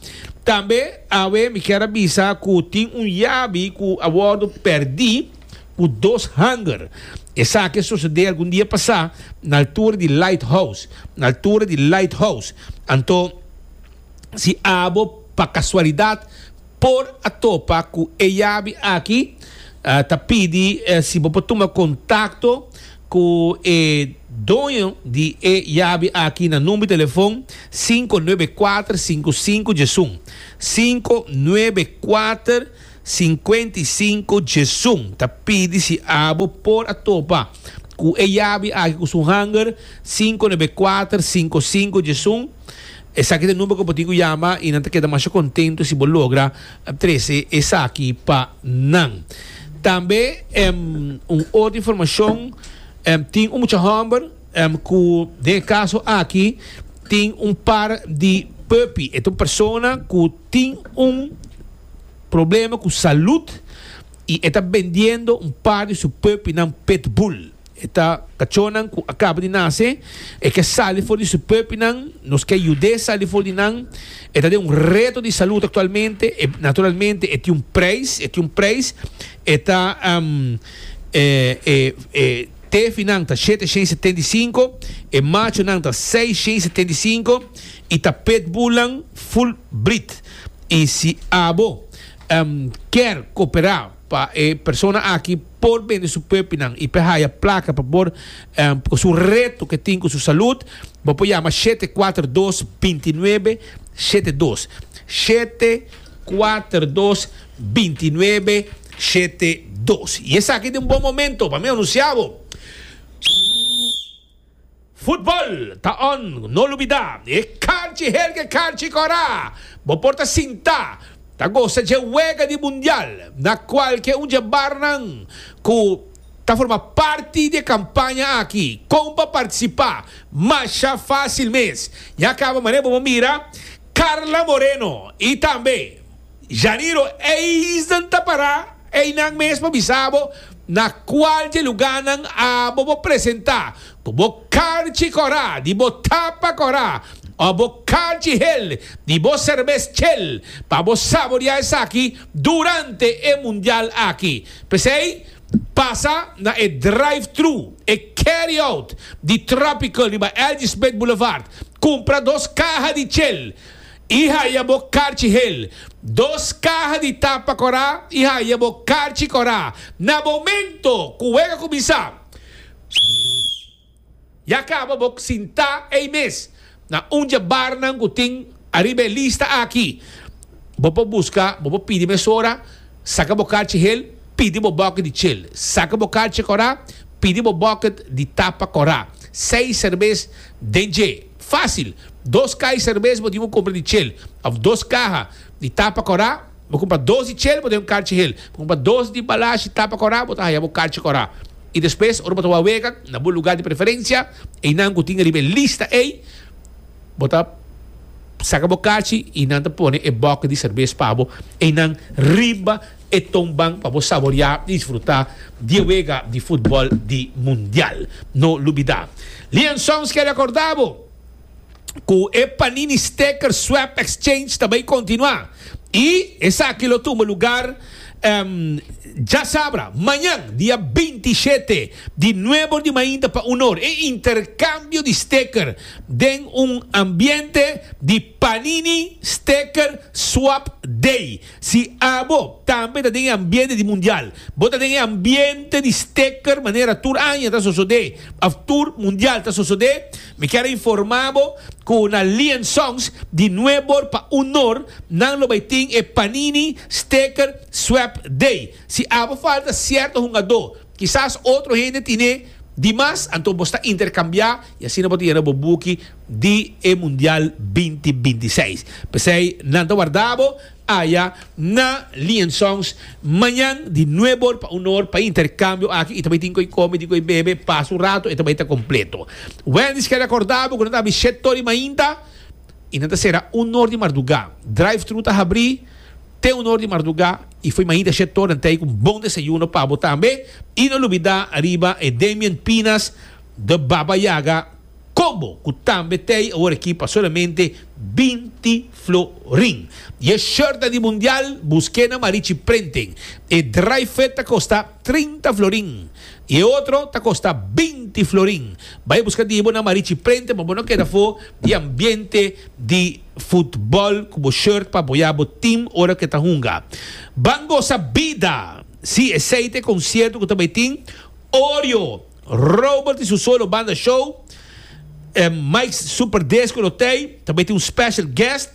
Tambe awe mi kier a bisa ku tin un yabi ku a wordo perdi ku dos hanger. Esaki a sosode algun dia pasa na altura di Lighthouse, na altura di Lighthouse. Anto si abo pa kasualidat por a topa ku e yabi aki, ta pidi si bo por tuma kontakto ku e doño di e yabi aki na number di telefon sinku nuebe kuater sinku sinku diesun, sinku nuebe kuater sinkuenta i sinku diesun. Ta pidi si abo por a topa ku e yabi aki ku su hanger sinku nuebe kuater sinku sinku diesun. Esaki ta e number ku bo tin ku yama i nan ta keda masha kontentu si bo logra trese esaki pa nan. Tambe un otro informashon, tin un mucha hòmber ku den e kaso aki tin un par di puppy. E ta un persona ku tin un problema ku salud i e ta bendiendo un par di su puppynan pitbull. E ta kachónan ku a kaba di nase, e ke sali for di su puppynan, nos ke yud'é sali for di nan. E ta den un reto di salud aktualmente, e naturalmente e tin un preis, e tin un preis. E ta e e e tefinan ta shete shen setenta i sinku, e machonan ta seis shen setenta i sinku i ta pitbullnan full breed. I si abo kier koperá pa e persona aki por bende su puppynan i pa haya plaka pa por ku su reto ke tin ku su salud, bo por yama shete kuater dos binti nuebe shete dos, shete kuater dos binti nuebe shete dos. I esaki ta un bon momento pa mi anunsia bo. Futbol ta on, no lubida e karchi helge karchi kora. Bo por ta sinta ta gosa dje wega di mundial na kualke un dje barnan ku ta forma parti di e kampaña aki. Kon pa partisipa? Masha fásil mes. Ya kaba manera bo por mira Carla Moreno i tambe Janiro Eisden ta pará einan mes pa bisa bo na kual dje lugánan abo bo presentá ku bo karchi kòrá di bo tapa kòrá òf bo karchi hel di bo serbes chel pa bo saboriá esaki durante e mundial aki. P'esei, pasa na e drive-thru, e carry-out di Tropical riba L G. Smith Boulevard, kumpra dos kaha di chel i haya bo karchi hel, dos kaha di tapa kòrá i haya bo karchi kòrá. Na momento ku wega kuminsá, ya kaba bo sintá ei mes na un dje barnan ku tin ariba e lista aki. Bo por buska, bo por pidi mesora, saka bo karchi hel, pidi bo bucket di chel. Saka bo karchi kòrá, pidi bo bucket di tapa kòrá. Seis serbes den dje. Fácil. Dos kaha di serbes bo tin ku kumpra di chel òf dos kaha di tapa kòrá. Bo kumpra dos di chel, bo tin un karchi hel. Bo kumpra dos di balashi tapa kòrá, bo ta haya bo karchi kòrá. I despues ora bo ta wak wega na bo lugá di preferensia, einan ku tin riba e lista ei, bo ta saka bo karchi i nan ta pone e bòke di serbes pa bo einan riba e tonban pa bo saboriá i disfrutá di e wega di futbòl di mundial. No lubidá. Lian Sons ke rekordá bo ku e Panini Sticker Swap Exchange ta bai kontinuá i esaki lo tuma lugar djasabra, mañan, dia binti shete di nuebe or di mainta pa un or. E interkambio di sticker den un ambiente di Panini Sticker Swap Day. Si abo tambe ta den e ambiente di mundial, bo ta den e ambiente di sticker manera tur aña ta sosodé of tur mundial ta sosodé, mi kier a informa bo ku na Lee and Sons di nuebe or pa un or nan lo bai tin e Panini Sticker Swap Day. Si abo falta sierto hungadó, kisas otro hende tine di mas, anto bo sta interkambiá i asina bo ta yena bo buki di e Mundial binti binti seis. P'esei nan ta warda bo aya na Lee and Sons mañan di nuebe or pa un or pa e interkambio aki i ta bai tin ku e kome, tin ku e bebe, pasa un rato e ta bai ta kompleto. Wendy's ke rekorda bo ku nan ta habri shete or di mainta i nan ta sera un or di mardugá. Drive thru ta habri te un or di mardugá i fo'i mainta shete or nan ta ei ku un bon desayuno pa bo tambe. I no lubidá ariba e Damian Pinas de Baba Yaga. Combo, ku tambe t'ei awor aki pa solamente binti florin. I e shirt di Mundial, busk'é na Marichi Printing. E dry fit ta kosta trinta florin. I e otro ta kosta binti florin. Bai buska di bo na Marichi Printing, pa no keda afó di ambiente di futbòl ku shirt pa apoyá bo team ora ku ta hunga. Ban Gosa Bida. Si, esei ta e konsierto ku tambe tin Oreo, Robert i su solo banda show, eh, Mike's Super Disco lo t'ei, tambe tin un special guest.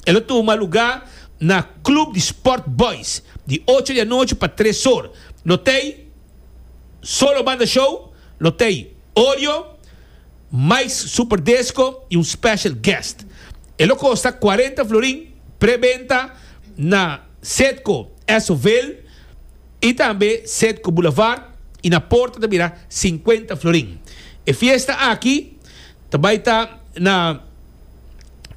E lo tuma lugá na Club di Sport Boys, di ocho di anochi pa tres or. Lo t'ei solo banda show, lo t'ei Oreo, Mike's Super Disco i un special guest. E lo kosta kuarenta florin, preventa na Setco Essoville i tambe Setco Boulevard i na porta ta bira sinkuenta florin. E fiesta aki tambe ta na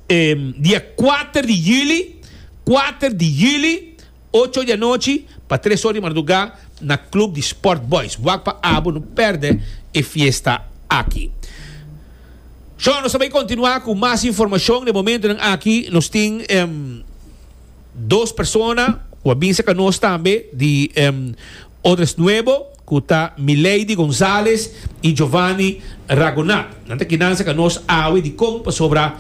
eh, dia kuater di yüli, kuater di yüli, ocho di anochi pa tres or di mardugá na Club di Sport Boys. Wak pa abo no pèrdè e fiesta aki. So, nos ta bai kontinuá ku mas informashon. Na e momento aki nos tin um, dos persona ku a bin ku nos tambe di um, Odres Nuevo, ku ta Milady González i Giovanni Ragonat. Nan ta akinan ku nos awe di kon pasobra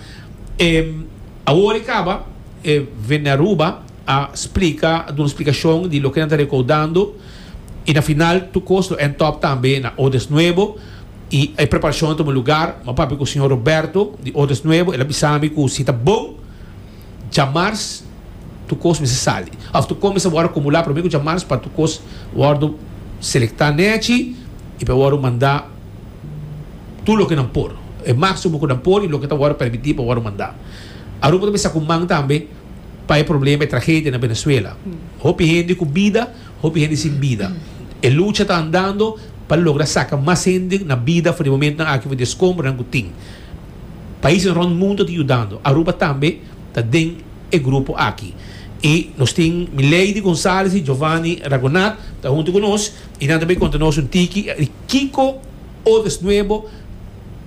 um, awor kaba eh, Venearuba a splika, duna un splikashon di loke nan ta rekoudando i na final tur kos lo end up tambe na Odres Nuevo i e preparashon a tuma lugá. M'a papia ku señor Roberto di Odres Nuevo, el a bisa mi ku si ta bon, djamars tur kos mester sali. Òf tur kos mester awor akumulá promé ku djamars pa tur kos wòrdu selektá nèchi i pa awor manda tur loke nan por. E máksimo ku nan por i loke ta awor permití pa awor manda. Aruba tambe sa man tambe pa e problema e tragedia na Venezuela. Hopi hende ku bida, hopi hende sin bida. E lucha ta andando pa logra saka mas hende na bida for di momento aki for di eskombro ku tin. Paisnan rònt mundu ta yudando. Aruba tambe ta den e grupo aki. I nos tin Milady González i Giovanni Ragonat ta huntu ku nos i nan tambe konta nos un tiki kiko Odres Nuevo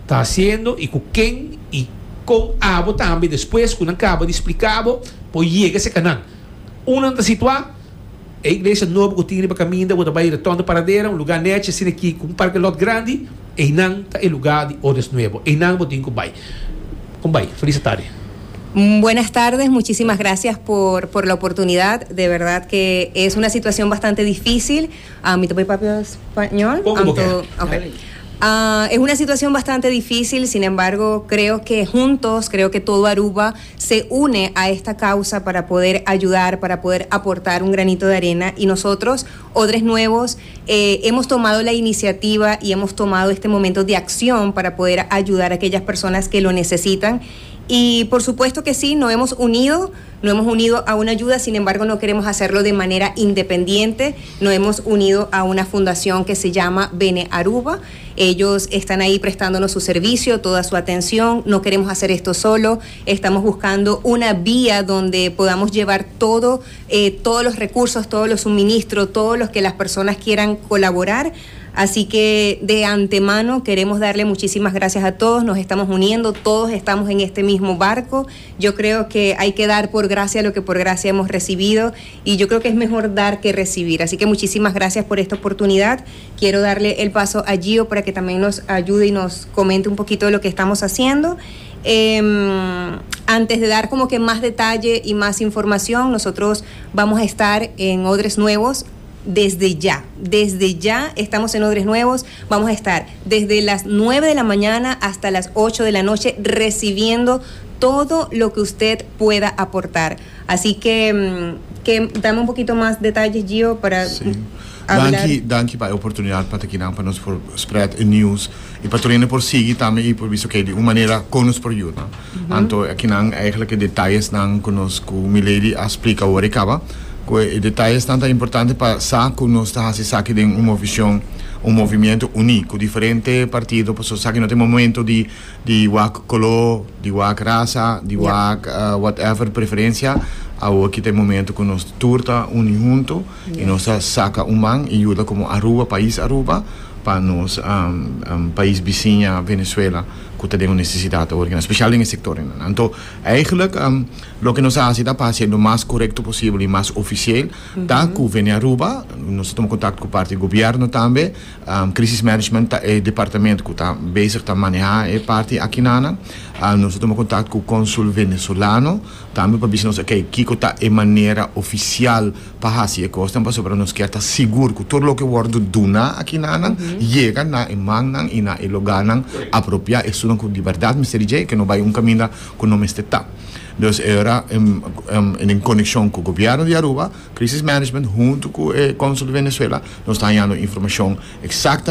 ta hasiendo i ku ken i kon abo tambe, despues ku nan kaba di splika bo, por yega serka nan. Unda nan ta situá? E iglesia nobo ku tin riba kaminda, ku bai rotonde Paradera, un lugá nèchi asina aki ku un parking lot grandi, einan ta e lugá di Odres Nuevo. Einan bo tin ku bai. Kon bai? Felis tardi. Buenas tardes, muchísimas gracias por, por la oportunidad. De verdad que es una situación bastante difícil. A mi topo papia español. Poco Anto- ok. Ah, es una situación bastante difícil, sin embargo, creo que juntos, creo que todo Aruba se une a esta causa para poder ayudar, para poder aportar un granito de arena. Y nosotros, Odres Nuevos, eh, hemos tomado la iniciativa y hemos tomado este momento de acción para poder ayudar a aquellas personas que lo necesitan. Y por supuesto que sí, nos hemos unido, nos hemos unido a una ayuda, sin embargo no queremos hacerlo de manera independiente, nos hemos unido a una fundación que se llama Bene Aruba. Ellos están ahí prestándonos su servicio, toda su atención, no queremos hacer esto solo, estamos buscando una vía donde podamos llevar todo, eh, todos los recursos, todos los suministros, todos los que las personas quieran colaborar. Así que de antemano queremos darle muchísimas gracias a todos, nos estamos uniendo, todos estamos en este mismo barco. Yo creo que hay que dar por gracia lo que por gracia hemos recibido y yo creo que es mejor dar que recibir. Así que muchísimas gracias por esta oportunidad. Quiero darle el paso a Gio para que también nos ayude y nos comente un poquito de lo que estamos haciendo. Eh, antes de dar como que más detalle y más información, nosotros vamos a estar en Odres Nuevos desde ya, desde ya estamos en Odres Nuevos, vamos a estar desde las nueve de la mañana hasta las ocho de la noche recibiendo todo lo que usted pueda aportar. Así que, mm, que dame un poquito más detalles, Gio, para hablar. Danki, danki pa e oportunidat pa aki pa nos por spread e news i pa tur por sigui tambe i por visto ku di un manera ku nos por yuda. Mhm. Anto akinan eigenlijk detayenan ku nos ku Milady a splika awor kaba. Ku e detayenan ta importante pa sa ku nos ta hasi esaki den un vishon, un movementu úniko, diferente partido, pues, sa ku no tin momento di di wak koló, di wak rasa, di wak uh, whatever preferensia. Aki tin momento ku nos tur ta uni huntu i nos saka un man i yuda komo Aruba, pais Aruba, pa nos um, um, pais bisiña Venezuela. Ku tin un nesesidat awor, spesial den e sektor. Anto, eigenlijk, um, loke nos a hasi ta pa hasi mas korekto posibel i mas ofisial, ta ku Venearuba, nos ta tuma kontakto ku parti di gobièrnu tambe, um, Crisis Management ta e departamento ku ta bezig ta manehá e parti aki na, uh, nos ta tuma kontakto ku e konsul venezolano, tambe pa bisa nos, ok, kiko ta e manera ofisial pa hasi e kos, pasobra nos ke ta sigur ku tur loke wòrdu duna aki na mm -hmm. yega na e mannan i na e lugánan apropiá, esnan ku di berdat mester dje, ku no bai un kaminda ku no mester ta. Dus era um, um, en konekshon ku gobièrnu di Aruba, Crisis Management, huntu ku e konsul di Venezuela, nos ta hañando informashon eksaktamente.